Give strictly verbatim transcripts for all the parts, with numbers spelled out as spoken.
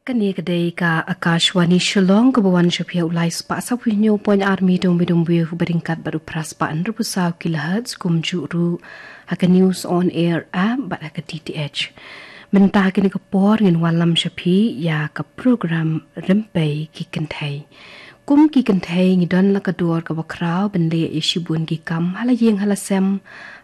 Kane ka dei ka Akashvani Shillong, kaba wan sha phi ha u lai spah saw phew hynñiew point ar meter, medium wave, ba ryngkat bad u phra spah hynriew phew saw kilohertz, kumjuh ruh ha ka News on Air app bad ha ka D T H. Mynta ha kane ka por ngin wallam sha phi ïa ka program Rympei ki Kynthei. Kum ki kynthei ngi don la ka dor kaba khraw ban leh ïa shibun ki kam ha la ïing ha la sem,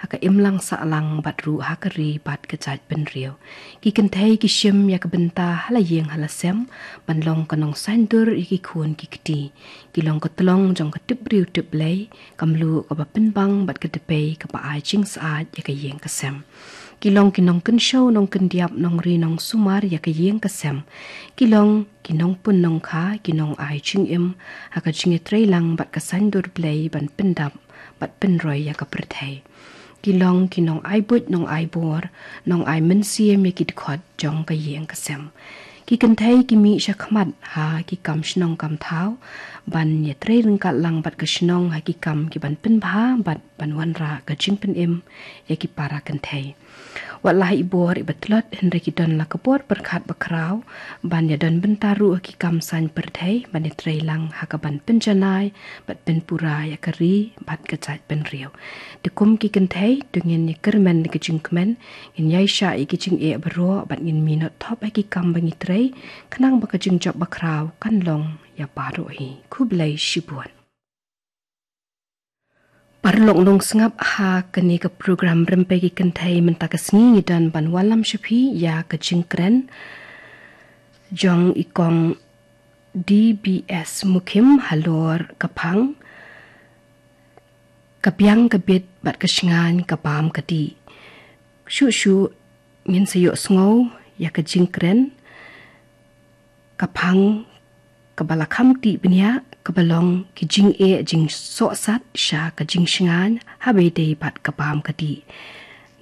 ha ka imlang sahlang bad ruh ha ka ri bad ka jaitbynriew. Ki kynthei ki shim ïa ka bynta ha la ïing ha la sem ban long ka nongsaiñdur ïa ki khun ki kti. Ki long ka tlong jong ka tip briew tip Blei, ka mluh kaba pynbang bad ka dpei kaba ai jingsyaid ïa ka ïing ka sem. Ki long ki nongkynshew nongkyndiap, nongri nongsumar ïa ka ïing ka sem. Ki long ki nongpun nongkha, ki nongai jingim ha ka jingïatreilang bad ka saiñdur Blei ban pyndap bad pynroi ïa ka pyrthei. Ki long ki nongai buit nongai bor, nongai mynsiem ïa ki dkhot jong ka ïing ka sem. Ki kynthei ki mih sha khmat ha ki kam shnong kam thaw ban ïatrei ryngkat lang bad ka shnong ha ki kam kiban pynbha bad ban wanrah ka jingpynim ïa ki para kynthei. Wat la ha i bor iba tlot, hynrei ki don la ka bor pyrkhat ba khraw ban ïadon bynta ruh ha ki kam saiñ pyrthei ban ïatreilang ha kaban pynjanai bad pynpura ïa ka ri bad ka jaitbynriew. Te kum ki kynthei, to ngin ïakyrmen da ka jingkmen, ngin ïaishah ïa ki jingeh baroh bad ngin minot thop ha ki kam ba ngi trei, khnang ba ka jingjop ba khraw kan long ïa baroh hi. Khublei shibun. Paralok nongsngap, ha kane ka program Rympei ki Kynthei mynta ka sngi ngi don ban wallam sha phi ïa ka jingkren jong i kong D B S Mukhim halor ka phang, ka biang ka bit bad ka shngaiñ ka bam ka dih. Shuh shuh ngin sa ïohsngew ïa ka jingkren, ka phang kaba la kham tih bniah, kaba long ki jingeh jingsohsat sha ka jingshngaiñ ha ba ïadei bad ka bam ka dih.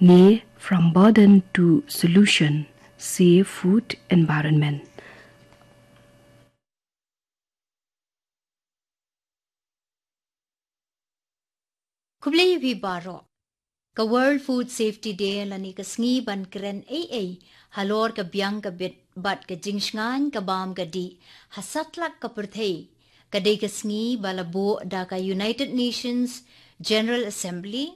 Ne From Burden to Solution, Save Food Environment. Khublei ïa phi baroh. Ka World Food Safety Day lane ka sngi ban kren ei ei halor ka biang ka bit bad ka jingshngaiñ ka bam ka dih ha satlak ka pyrthei, ka dei ka sngi ba la buh da ka United Nations General Assembly,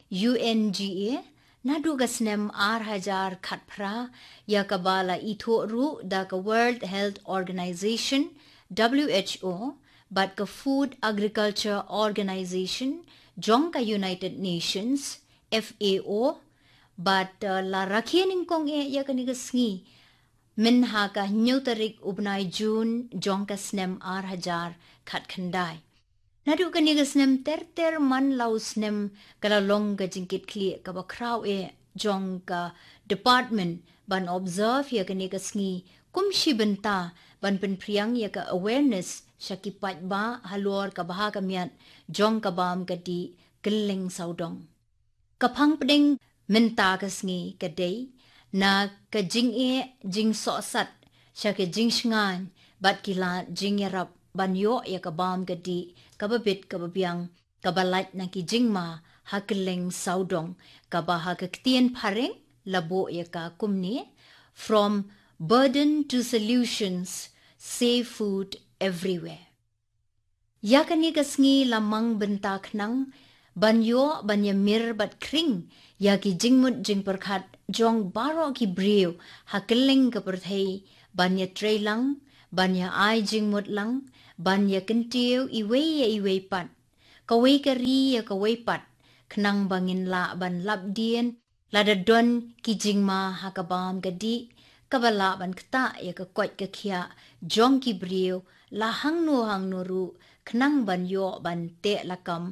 U N G A, naduh ka snem ar hajar khatphra, ïa kaba la ithuh ruh da ka World Health Organization, W H O, bad ka Food Agriculture Organization jong ka United Nations, F A O, bad, uh, la rakhe nyngkong eh ïa kane ka sngi mynha ka hynñiew tarik u bnai Jun jong ka snem ar hajar khatkhyndai. Naduh kane ka snem ter ter man la u snem ka la long ka jingkitkhlieh kaba khraw eh jong ka department ban observe ïa kane ka sngi kum shi bynta ban pynphriang ïa ka awareness sha ki paidbah halor ka bha ka miat jong ka bam ka dih kylleng sawdong. Ka phang pdeng mynta ka sngi ka dei na ka jingeh jingsohsat sha ka jingshngaiñ bad ki lad jingïarap ban ïoh ïa ka bam ka dih kaba bit kaba biang, kaba lait na ki jingma ha kylleng sawdong, kaba ha ka ktien phareng la buh ïa ka kumne: From Burden to Solutions, Save Food Everywhere. Ïa kane ka sngi la mang bynta khnang ban ïoh ban ïamir bad khring ïa ki jingmut jingpyrkhat jong baroh ki briew ha kylleng ka pyrthei, ban ïatreilang, ban ïa ai jingmut lang, ban ïakyntiew iwei ïa iwei pat, kawei ka ri ïa kawei pat, khnang ba ngin lah ban lap dien, lada don ki jingma ha ka bam ka dih, kaba lah ban ktah ïa ka koit ka khiah jong ki briew la hangno hangno ruh, khnang ban ïoh ban teh lakam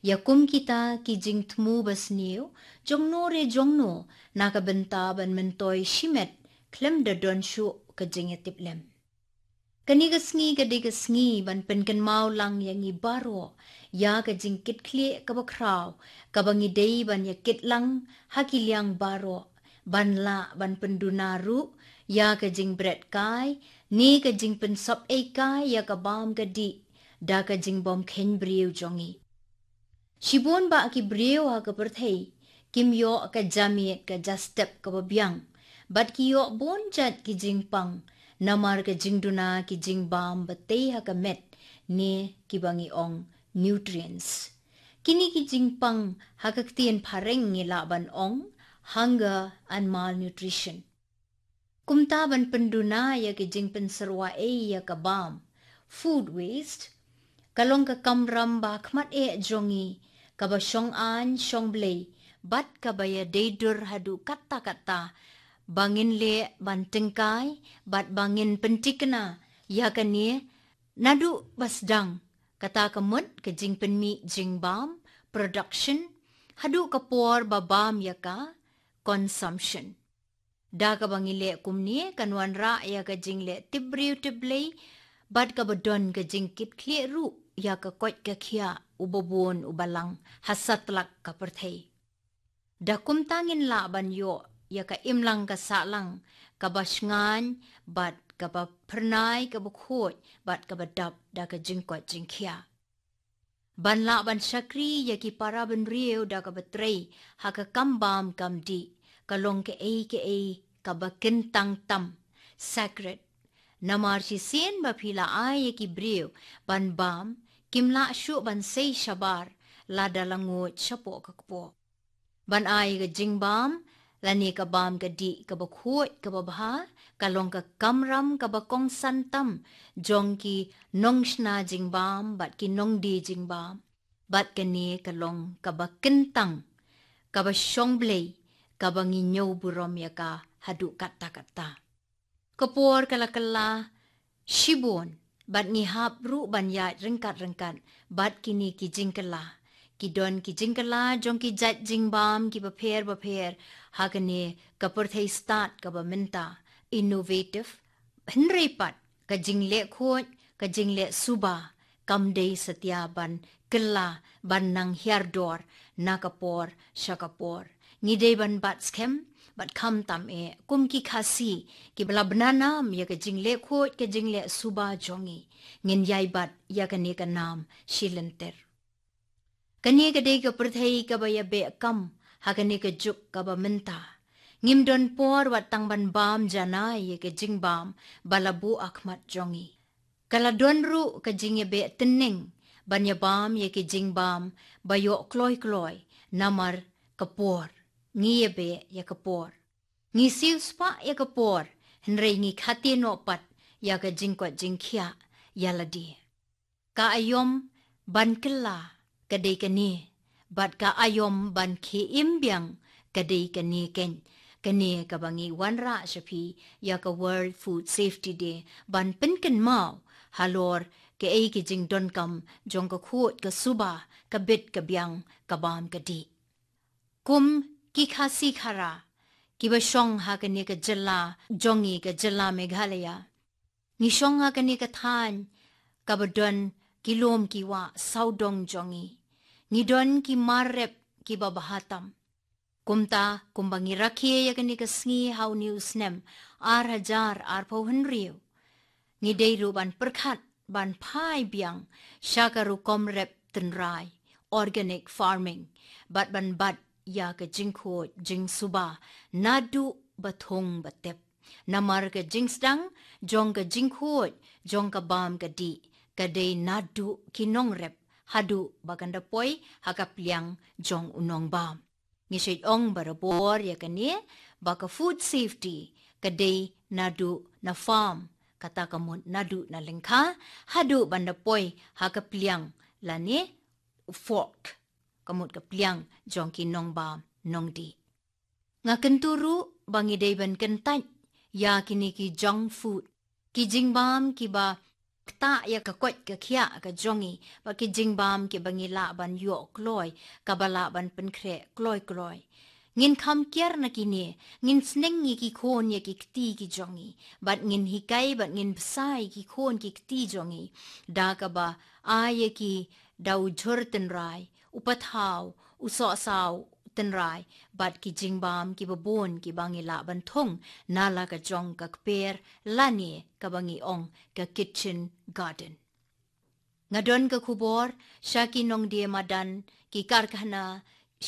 ïa kum kita ki jingthmu basniew jongno re jongno, na ka bynta ban myntoi shimet khlem da don shuh ka jingïatiplem. Kane ka sngi ka dei ka sngi ban pynkynmaw lang ïa ngi baroh ïa ka jingkitkhlieh kaba khraw kaba ngi dei ban ïakit lang ha ki liang baroh, ban lah ban pynduna ruh ïa ka jingbret kai ne ka jingpynsop ei kai ïa ka bam ka dih da ka jingbym kheiñ briew jong ngi. Shibun bah ki briew ha ka pyrthei kim ïoh ka jamiet ka jastep kaba biang, bad ki ïoh bun jait ki jingpang Namar ka jingduna ki jingbam ba tei ha ka met ne kiba ngi ong nutrients. Kine ki jingpang ha ka ktien phareng ngi lah ban ong hunger and malnutrition. Kumta ban pynduna ïa ki jingpynsyrwa ei ïa ka bam, food waste, ka long ka kamram ba khmat eh jong ngi, kaba shong aiñ shong blei, bad kaba ïadei dur haduh katta katta, ba ngin leh ban tyngkai, bad ba ngin pyntikna ïa kane naduh ba sdang, kata ka mut ka jingpynmih jingbam, production, haduh ka por ba bam ïa ka, consumption. Da kaba ngi leh kumne kan wanrah ïa ka jingleh tip briew tip Blei, bad kaba don ka jingkitkhlieh ruh ïa ka koit ka khiah uba bun uba lang ha satlak ka pyrthei. Da kumta ngin lah ban ïoh ïa ka imlang ka sahlang kaba shngaiñ, bad kaba phyrnai kaba khuid, bad kaba dap da ka jingkoit jingkhiah. Ban lah ban shakri ïa ki para bynriew da kaba trei ha ka kam bam kam dih, ka long kaei kaei kaba kyntang tam, sacred. Namar shisien ba phi la ai ïa ki briew ban bam, kim lah shuh ban sei shabar, lada la nguid shapoh ka kpoh. Ban ai ka jingbam lane ka bam ka dih kaba khuid kaba bha, ka long ka kamram kaba kongsan tam jong ki nongshna jingbam bad ki nongdie jingbam. Bad kane ka long kaba kyntang, kaba shong blei, kaba ngi ñiew burom ïa ka haduh katta katta. Ka por ka la kylla shibun, bad ngi hap ruh ban ïaid ryngkat ryngkat bad kine ki jingkylla. Ki don ki jingkylla jong ki jait jingbam kiba pher bapher ha kane ka pyrthei stad kaba mynta, innovative. Hynrei pat ka jingleh khuid, ka jingleh suba, kam dei satia ban kylla, ban nang hiar dor na ka por sha ka por. Ngi dei ban bat skhem, bad khamtam eh kum ki Khasi kiba la bna nam ïa ka jingleh khuid ka jingleh suba jong ngi, ngin ïai bat ïa kane ka nam shi lynter. Kane ka dei ka pyrthei kaba ïabeh kam ha kane ka juk kaba mynta. Ngim don por wat tang ban bam janai ïa ka jingbam ba la buh ha khmat jong ngi. Ka la don ruh ka jingïabeh tynning ban ïabam ïa ki jingbam ba ïoh kloi kloi, namar ka por. Ngi ïabeh ïa ka por. Ngi siewspah ïa ka por, hynrei ngi khate noh pat ïa ka jingkoit jingkhiah ïa lade. Ka aïom ban kylla ka dei kane, bad ka aïom ban khie im biang ka dei kane keiñ. Kane kaba ngi wanrah sha phi ïa ka World Food Safety Day, ban pynkynmaw halor kaei ki jingdonkam jong ka khuid ka suba, ka bit ka biang, ka bam ka dih. Kum ki Khasi Khara kiba shong ha kane ka jylla jong ngi, ka jylla Meghalaya, ngi shong ha kane ka thaiñ kaba don ki lum ki wah sawdong jong ngi. Ngi don ki mar rep kiba bha tam. Kumta, kumba ngi rakhe ïa kane ka sngi ha une u snem ar hajar arphew hynriew, ngi dei ruh ban pyrkhat ban phai biang sha ka rukom rep tynrai, organic farming, bad ban bat ïa ka jingkhuid jingsuba naduh ba thung ba tep. Namar ka jingsdang jong ka jingkhuid jong ka bam ka dih ka dei naduh ki nongrep haduh ba kan da poi ha ka pliang jong u nongbam. Ngi shait ong barabor ïa kane ba ka food safety ka dei naduh na farm, kata ka mut naduh na lyngkha haduh ban da poi ha ka pliang lane fork, ka mut ka pliang jong ki nongbam nongdih. Nga kyntu ruh ba ngi dei ban kyntait ïa kine ki junk food, ki jingbam kiba ktah ïa ka koit ka khiah ka jong ngi, bad ki jingbam kiba ngi lah ban ïoh kloi, kaba lah ban pynkhreh kloi kloi. Ngin kham kiar na kine, ngin sneng ïa ki khun ïa ki kti ki jong ngi, bad ngin hikai bad ngin bsa ïa ki khun ki kti jong ngi da kaba ai ïa ki da u jhur tynrai, u pathaw, u sohsaw tynrai, bad ki jingbam kiba bun kiba ngi lah ban thung na la ka jong ka kper lane kaba ngi ong ka kitchen garden. Nga don ka khubor sha ki nongdie madan, ki karkhana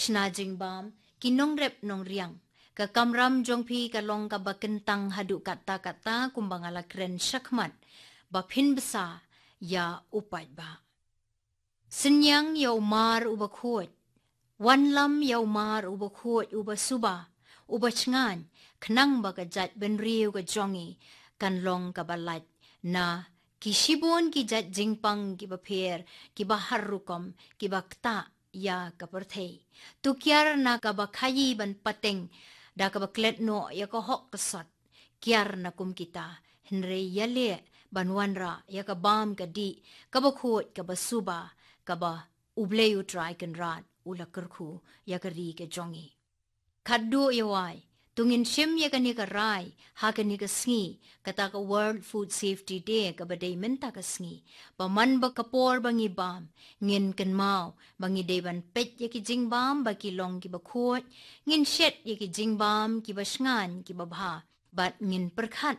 shna jingbam, ki nongrep nongriang, Ka kamram jong phi ka long kaba kyntang haduh katta katta kumba nga la kren shakhmat, ba phin bsa ïa u paidbah. Synñiang ïa u mar uba khuid. Wanlam ïa u mar uba khuid, uba suba, uba shngaiñ, khnang ba ka jaitbynriew ka jong ngi kan long kaba lait na ki shibun ki jait jingpang kiba pher, kiba har rukom, kiba ktah ïa ka pyrthei. To kiar na kaba khaïi ban pateng da kaba klet noh ïa ka hok ka sot. Kiar na kum kita, hynrei ïaleh ban wanrah ïa ka bam ka dih, kaba khuid, kaba suba, kaba U Blei U Trai Kynrad u la kyrkhu ïa ka ri ka jong ngi. Khadduh ïa wai, to ngin shim ïa kane ka rai ha kane ka sngi, kata ka World Food Safety Day kaba dei mynta ka sngi. Ba man ba ka por ba ngi bam, ngin kynmaw ba ngi dei ban peit ïa ki jingbam ba ki long kiba khuid, ngin shet ïa ki jingbam kiba shngaiñ, kiba bha, bad ngin pyrkhat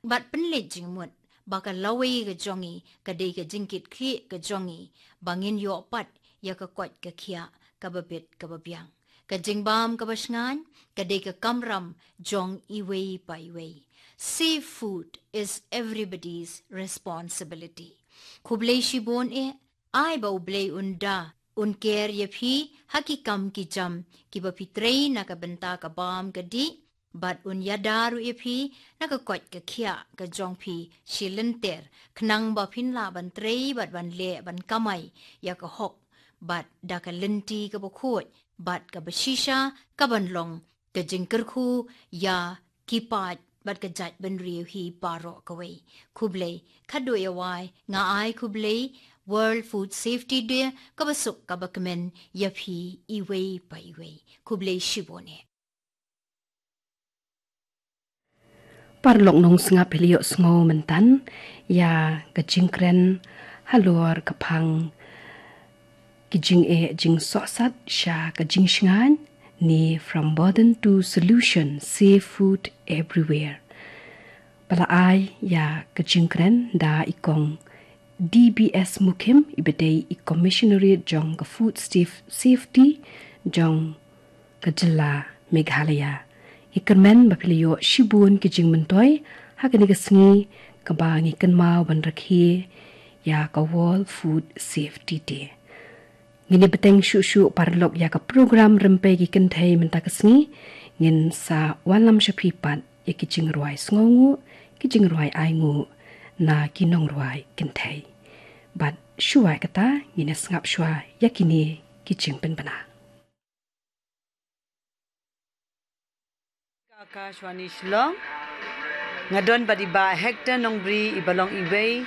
bad pynleit jingmut ba ka lawei ka jong ngi ka dei ka jingkitkhlieh ka jong ngi, ba ngin ïoh pat ïa ka koit ka khiah kaba bit kaba biang. Ka jingbam kaba shngaiñ ka dei ka kamram jong iwei pa iwei. Safe food is everybody's responsibility. Khublei shibun eh, ai ba U Blei un da, un ker ïa phi ha ki kam ki jam kiba phi trei na ka bynta ka bam ka dih, bad un ïada ruh ïa phi na ka koit ka khiah ka jong phi shi lynter, khnang ba phin lah ban trei bad ban leh ban kamai ïa ka hok, bad da ka lynti kaba khuid bad kaba shisha, kaban long ka jingkyrkhu ïa ki paid bad ka jaitbynriew hi baroh kawei. Khublei, khadduh ïa wai, nga ai khublei, World Food Safety Day kaba suk kaba kmen ïa phi iwei pa iwei. Khublei shibun eh. Paralok nongsngap, phi la ïohsngew mynta ïa ka jingkren halor ka phang ki jingeh jingsohsat sha ka jingshngaiñ, ne From Burden to Solution, Safe Food Everywhere. Ba la ai ïa ka jingkren da i Kong D B S Mukhim, iba dei i Commissioner jong ka Food Saf-, Safety jong ka jylla Meghalaya. Ngi kyrmen ba phi la ïoh shibun ki jingmyntoi ha kane ka sngi kaba ngi kynmaw ban rakhe ïa ka World Food Safety Day. Ngin ïa bteng shuh shuh paralok ïa ka program Rympei ki Kynthei mynta ka sngi. Ngin sa wanlam sha phi pat ïa ki jingrwai sngewnguh, ki jingrwai ainguh na ki nongrwai kynthei. Bad shuwa kata, ngin ïa sngap shuwa ïa kine ki jingpynbna. Ka Akashvani Shillong. Nga don bad i Bah Hector Nongbri, iba long iwei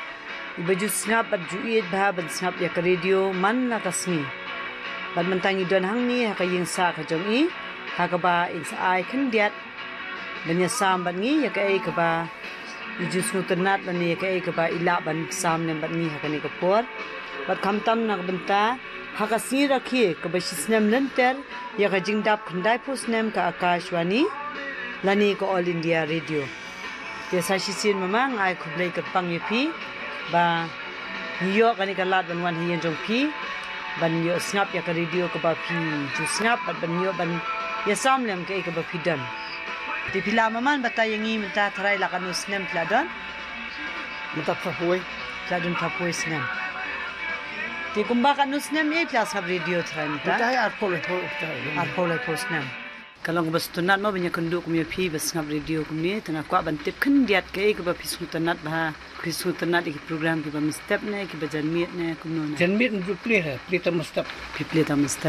iba ju sngap bad ju ïeit bha ban sngap ïa ka radio man la ka sngi. Bad mynta ngi don hangne ha ka ïing sah ka jong i, ha kaba in sa ai khyndiat ban ïasam bad ngi ïa kaei kaba i ju sngewtynnat lane ïa kaei kaba i lah ban sam lem bad ngi ha kane ka por. Bad khamtam na ka bynta ha ka sngi rakhe kaba shisnem lynter ïa ka jingdap khyndaiphew snem ka Akashvani lane ka All India Radio. Te sa shisien mama nga ai khublei kyrpang ïa phi ba ngi ïoh kane ka lad ban wan ha ïing jong phi ban ïoh sngap ïa ka radio kaba phi ju sngap bad ban ïoh ban ïasam lem kaei kaba phi don. Te phi la mama ban batai ïa ngi mynta tharai la katno snem phi la don? Mynta phraphew wei. Phi la don phraphew wei snem. Te kumba katno snem eh phi la sngap radio tharai mynta? Mynta arphew laiphew, arphew laiphew snem. Ka long kaba sngewtynnat mo ban ïakynduh kum ïa phi ba sngap radio kumne, te nga kwah ban tip khyndiat kaei kaba phi sngewtynnat bha, phi sngewtynnat ïa ki program kiba mynstep ne kiba janmiet ne kumno ne? Janmiet ndu plie ha, plie tang mynstep. Phi plie tang mynstep.